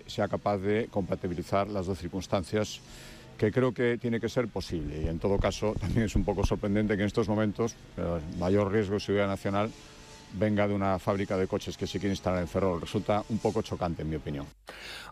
sea capaz de compatibilizar las dos circunstancias, que creo que tiene que ser posible. Y en todo caso también es un poco sorprendente que en estos momentos el mayor riesgo de seguridad nacional venga de una fábrica de coches que se quiere instalar en Ferrol. Resulta un pouco chocante, en mi opinión.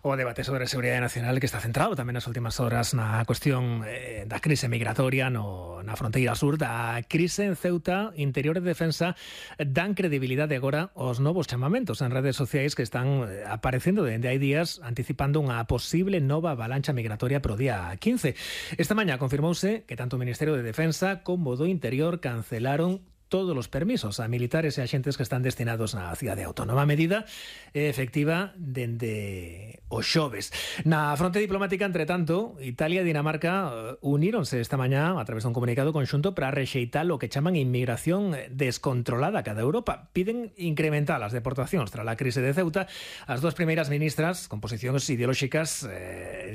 O debate sobre seguridade nacional que está centrado tamén nas últimas horas na cuestión da crise migratoria na fronteira sur, da crise en Ceuta. Interior e Defensa dan credibilidade agora aos novos chamamentos en redes sociais que están aparecendo dende hai días, anticipando unha posible nova avalancha migratoria pro día 15. Esta mañá confirmouse que tanto o Ministerio de Defensa como do Interior cancelaron todos os permisos a militares e axentes que están destinados na cidade autónoma. A medida é efectiva dende o xoves. Na fronte diplomática, entre tanto, Italia e Dinamarca uníronse esta mañá a través dun comunicado conxunto para rexeitar o que chaman inmigración descontrolada a cada Europa. Piden incrementar as deportacións tras a crise de Ceuta. As dúas primeiras ministras, con posicións ideolóxicas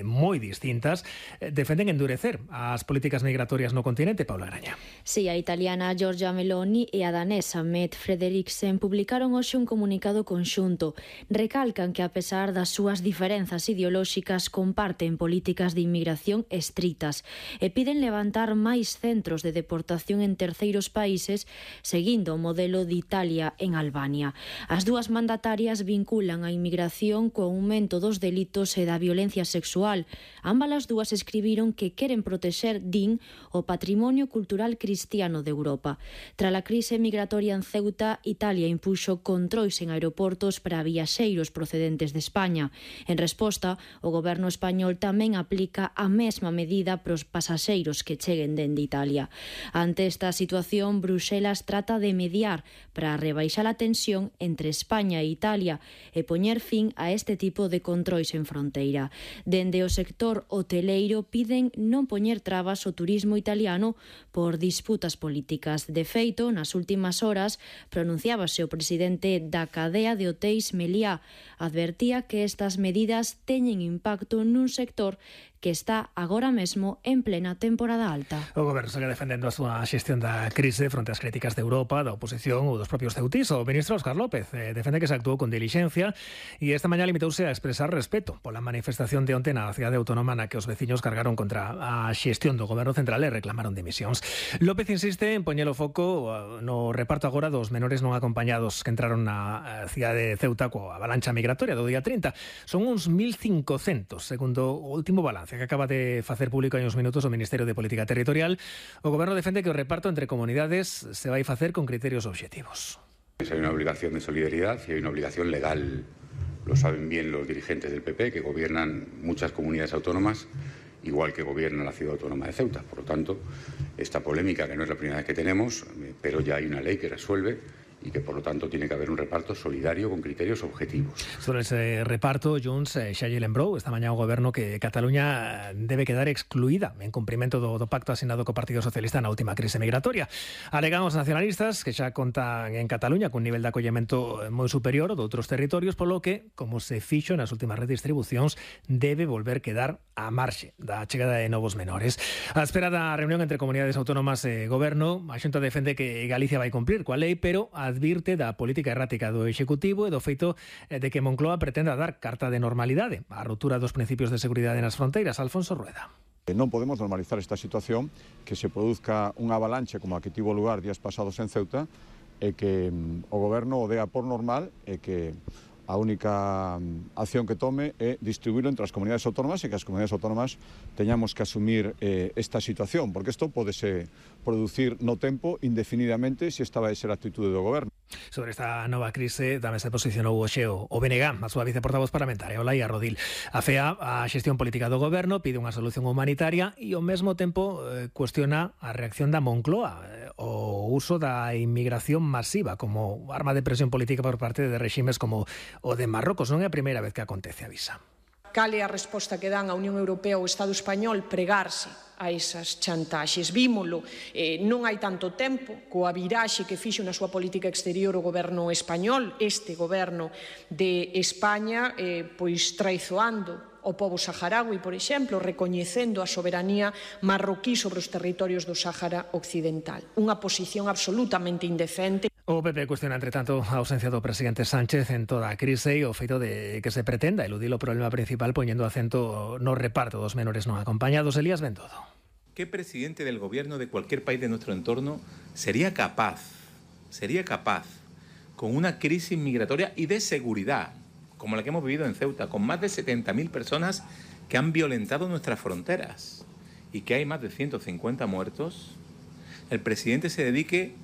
moi distintas, defenden endurecer as políticas migratorias no continente. Paula Araña. Sí, a italiana Giorgia Meloni e a danesa Mette Frederiksen publicaron hoxe un comunicado conxunto. Recalcan que, a pesar das súas diferenzas ideolóxicas, comparten políticas de inmigración estritas e piden levantar máis centros de deportación en terceiros países, seguindo o modelo de Italia en Albania. As dúas mandatarias vinculan a inmigración co aumento dos delitos e da violencia sexual. Ambas as dúas escribiron que queren protexer, din, o patrimonio cultural cristiano de Europa. Tras a crise migratoria en Ceuta, Italia impuxo controis en aeroportos para viaxeiros procedentes de España. En resposta, o goberno español tamén aplica a mesma medida para os pasaxeiros que cheguen dende Italia. Ante esta situación, Bruxelas trata de mediar para rebaixar a tensión entre España e Italia e poñer fin a este tipo de controis en fronteira. Dende o sector hoteleiro piden non poñer trabas ao turismo italiano por disputas políticas. De feito, nas últimas horas pronunciábase o presidente da cadea de hotéis Meliá. Advertía que estas medidas teñen impacto nun sector que está agora mesmo en plena temporada alta. O goberno segue defendendo a súa xestión da crise fronte ás críticas de Europa, da oposición ou dos propios ceutís. O ministro Óscar López defende que se actuou con dilixencia e esta mañá limitouse a expresar respeto pola manifestación de onte na cidade autónoma na que os veciños cargaron contra a xestión do goberno central e reclamaron dimisións. López insiste en poñer o foco no reparto agora dos menores non acompañados que entraron na cidade de Ceuta coa avalancha migratoria do día 30. Son uns 1.500, segundo o último balance que acaba de facer público hai uns minutos o Ministerio de Política Territorial. O goberno defende que o reparto entre comunidades se vai facer con criterios obxectivos. Hay una obligación de solidaridad y hay una obligación legal. Lo saben bien los dirigentes del PP, que gobiernan muchas comunidades autónomas, igual que gobierna la ciudad autónoma de Ceuta. Por lo tanto, esta polémica, que no es la primera vez que tenemos, pero ya hay una ley que resuelve y que, por lo tanto, tiene que haber un reparto solidario con criterios objetivos. Sobre ese reparto, Junts xa lle lembrou esta mañá o goberno que Cataluña debe quedar excluída en cumprimento do pacto asinado co Partido Socialista na última crise migratoria. Alegan os nacionalistas que xa contan en Cataluña cun nivel de acollemento moi superior ao de outros territorios, polo que, como se fixo nas últimas redistribucións, debe volver quedar á marxe da chegada de novos menores. A espera da reunión entre comunidades autónomas e goberno, a Xunta defende que Galicia vai cumprir coa lei, pero advirte da política errática do Executivo e do feito de que Moncloa pretenda dar carta de normalidade á ruptura dos principios de seguridade nas fronteiras. Alfonso Rueda. Non podemos normalizar esta situación, que se produzca unha avalanche como a que tivo lugar días pasados en Ceuta e que o goberno o dea por normal e que a única acción que tome é distribuirlo entre as comunidades autónomas e que as comunidades autónomas teñamos que asumir esta situación, porque isto podese producir no tempo indefinidamente se esta vai ser a actitude do goberno. Sobre esta nova crise tamén se posicionou hoxe o BNG, a súa viceportavoz parlamentaria, Olaia Rodil. A FEA, a xestión política do goberno, pide unha solución humanitaria e ao mesmo tempo cuestiona a reacción da Moncloa, o uso da inmigración masiva como arma de presión política por parte de reximes como o de Marrocos. Non é a primeira vez que acontece, avisa. Cal é a resposta que dan a Unión Europea ou o Estado español? Pregarse a esas chantaxes. Vímolo non hai tanto tempo coa viraxe que fixo na súa política exterior o goberno español, este goberno de España, pois traizoando o pobo saharaui, por exemplo, recoñecendo a soberanía marroquí sobre os territorios do Sáhara Occidental. Unha posición absolutamente indecente. O PP cuestiona, entre tanto, a ausencia do presidente Sánchez en toda a crise e o feito de que se pretenda eludir o problema principal poñendo acento no reparto dos menores non acompañados. Elías Bendodo. ¿Qué presidente del gobierno de cualquier país de nuestro entorno sería capaz, con una crisis migratoria y de seguridad, como la que hemos vivido en Ceuta, con más de 70.000 personas que han violentado nuestras fronteras y que hay más de 150 muertos, el presidente se dedique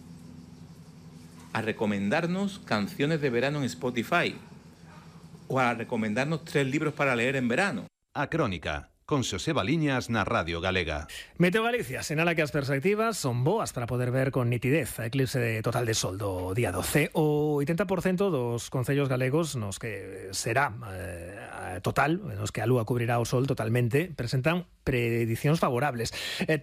a recomendarnos canciones de verano en Spotify o a recomendarnos 3 libros para leer en verano? A Crónica, con Xosé Baliñas na Radio Galega. Meteo Galicia sinala que as perspectivas son boas para poder ver con nitidez a eclipse total de sol do día 12. O 80% dos concellos galegos nos que será total, nos que a lúa cubrirá o sol totalmente, presentan predicións favorables.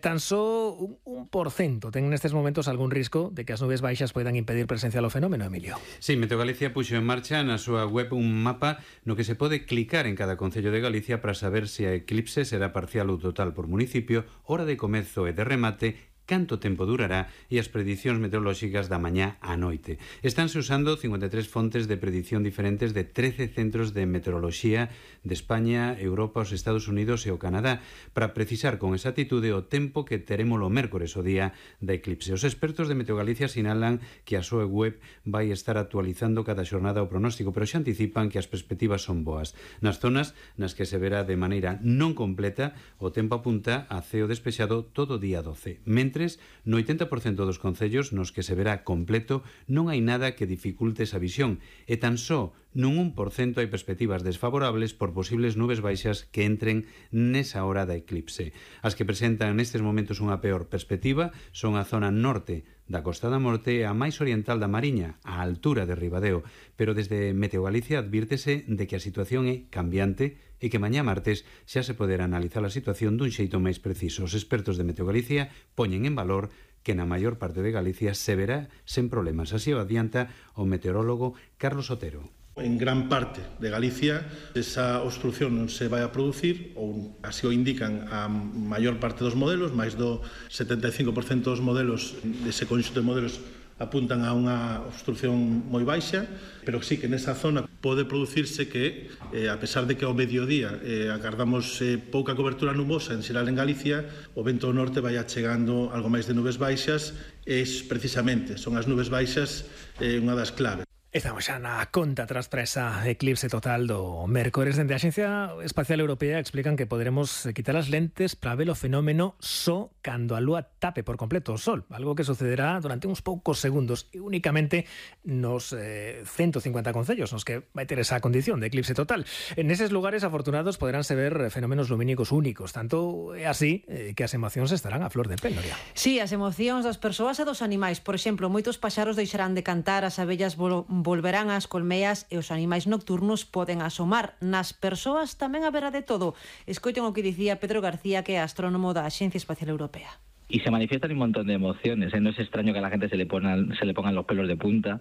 Tan só un 1% ten nestes momentos algún risco de que as nubes baixas poidan impedir presenciar o fenómeno, Emilio. Sí, Meteo Galicia puxo en marcha na súa web un mapa no que se pode clicar en cada concello de Galicia para saber se a eclipse será parcial ou total por municipio, hora de comezo e de remate, canto tempo durará e as predicións meteorolóxicas da mañá á noite. Estánse usando 53 fontes de predición diferentes de 13 centros de meteoroloxía de España, Europa, os Estados Unidos e o Canadá para precisar con exactitude o tempo que teremos o mércores o día da eclipse. Os expertos de Meteo Galicia sinalan que a súa web vai estar actualizando cada xornada o pronóstico, pero xa anticipan que as perspectivas son boas. Nas zonas nas que se verá de maneira non completa, o tempo apunta a ceo despexado todo o día 12. Mentre no 80% dos concellos nos que se verá completo non hai nada que dificulte esa visión e tan só nun 1% hai perspectivas desfavorables por posibles nubes baixas que entren nesa hora da eclipse. As que presentan nestes momentos unha peor perspectiva son a zona norte da Costa da Morte e a máis oriental da Mariña, á altura de Ribadeo, pero desde Meteo Galicia advírtese de que a situación é cambiante e que mañá martes xa se poderá analizar a situación dun xeito máis preciso. Os expertos de Meteo Galicia poñen en valor que na maior parte de Galicia se verá sen problemas. Así o adianta o meteorólogo Carlos Otero. En gran parte de Galicia esa obstrucción non se vai a producir, ou así o indican a maior parte dos modelos, máis do 75% dos modelos, dese conxunto de modelos, apuntan a unha obstrucción moi baixa, pero sí que nesa zona pode producirse que, a pesar de que ao mediodía agardamos pouca cobertura nubosa en xeral en Galicia, o vento do norte vai achegando algo máis de nubes baixas, e precisamente son as nubes baixas unha das claves. Estamos xa na conta tras para esa eclipse total do mércores. Dende a Axencia Espacial Europea explican que poderemos quitar as lentes para ver o fenómeno só cando a lúa tape por completo o sol, algo que sucederá durante uns poucos segundos e únicamente nos 150 concellos nos que vai ter esa condición de eclipse total. En eses lugares afortunados poderánse ver fenómenos lumínicos únicos, tanto é así que as emocións estarán a flor de pel, Noria. Sí, as emocións das persoas e dos animais. Por exemplo, moitos paxaros deixarán de cantar, as abellas volverán ás colmeas e os animais nocturnos poden asomar. Nas persoas tamén haberá de todo. Escoiten o que dicía Pedro García, que é astrónomo da Axencia Espacial Europea. Y se manifiestan un montón de emociones, ¿eh? No es extraño que a la gente se le pongan los pelos de punta.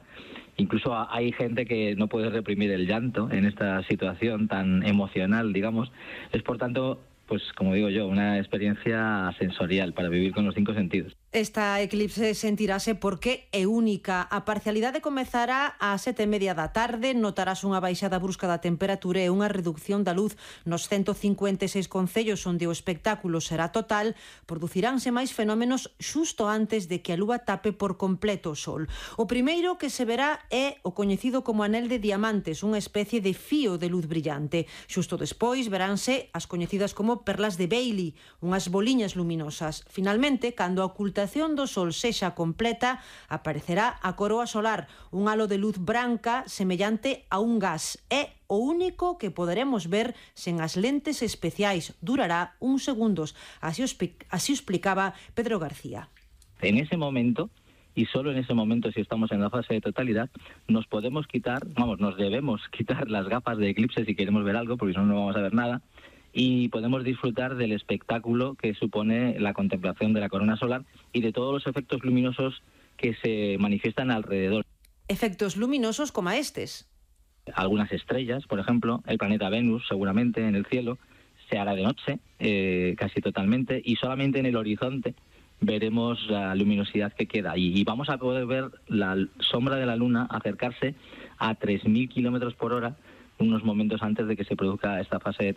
Incluso hay gente que no puede reprimir el llanto en esta situación tan emocional, digamos. Es, por tanto, pues como digo yo, una experiencia sensorial para vivir con los 5 sentidos. Esta eclipse sentirase porque é única. A parcialidade comezará ás 7:30 da tarde, notarás unha baixada brusca da temperatura e unha reducción da luz nos 156 concellos onde o espectáculo será total. Produciránse máis fenómenos xusto antes de que a lúa tape por completo o sol. O primeiro que se verá é o coñecido como anel de diamantes, unha especie de fío de luz brillante. Xusto despois veránse as coñecidas como perlas de Bailey, unhas boliñas luminosas. Finalmente, cando a ocultación do sol sexa completa, aparecerá a coroa solar, un halo de luz branca semellante a un gas. É o único que poderemos ver sen as lentes especiais. Durará uns segundos. Así o explicaba Pedro García. En ese momento, y solo en ese momento, si estamos en la fase de totalidad, nos debemos quitar las gafas de eclipse si queremos ver algo, porque si no, no vamos a ver nada. Y podemos disfrutar del espectáculo que supone la contemplación de la corona solar y de todos los efectos luminosos que se manifiestan alrededor. Efectos luminosos como estes. Algunas estrellas, por ejemplo, el planeta Venus seguramente en el cielo, se hará de noche casi totalmente, y solamente en el horizonte veremos la luminosidad que queda y vamos a poder ver la sombra de la Luna acercarse a 3.000 kilómetros por hora unos momentos antes de que se produzca esta fase de